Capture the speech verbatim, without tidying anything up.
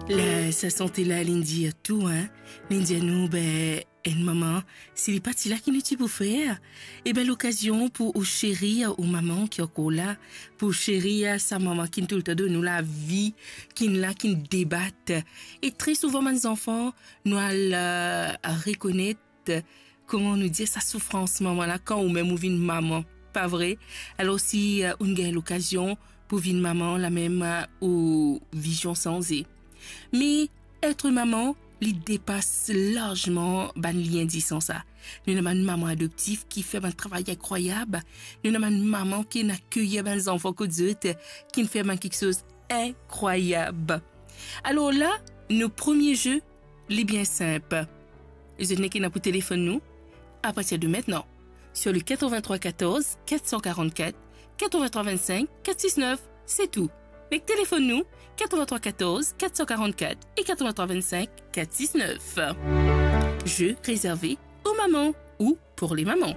La, sa sante la, li'nn dir tou, hein. Li'nn dir nou, be, enn mama, si li pa ti la, ki nou ti pou fer? E be, lokazion pou ou seri ou mama ki ankor la, pou seri sa mama ki'nn toultan donn nou lavi, ki'nn la, ki'nn debat. E tre souvan, bann zanfan, nou al, eh, rekonet, kouma nou dir, sa soufrans mama la, kan ou mem ou vinn mama, pa vre? Alor, si, eh, ou'nn gagn lokazion pou vinn mama, lamem, eh, ou vizion sanze. Me etre mama, li depas larzman bann lien disan sa. Nou ena bann mama adoptif ki fer bann travay inkrwayab. Nou ena bann mama ki'nn akeyir bann zanfan kot zot, ki'nn fer bann kiksoz inkrwayab. Alor la, nou premie ze, li bien sinp. Zot nek ena pou telefonn nou, a partir de maintenant, sur le quatre-vingt-trois quatorze quatre cent quarante-quatre quatre-vingt-trois vingt-cinq quatre six neuf, se tou. Nek telefonn nou, quatre-vingt-trois quatorze quatre cent quarante-quatre et quatre-vingt-trois vingt-cinq quatre six neuf. Ze rezerve aux mamans ou pour les mamans.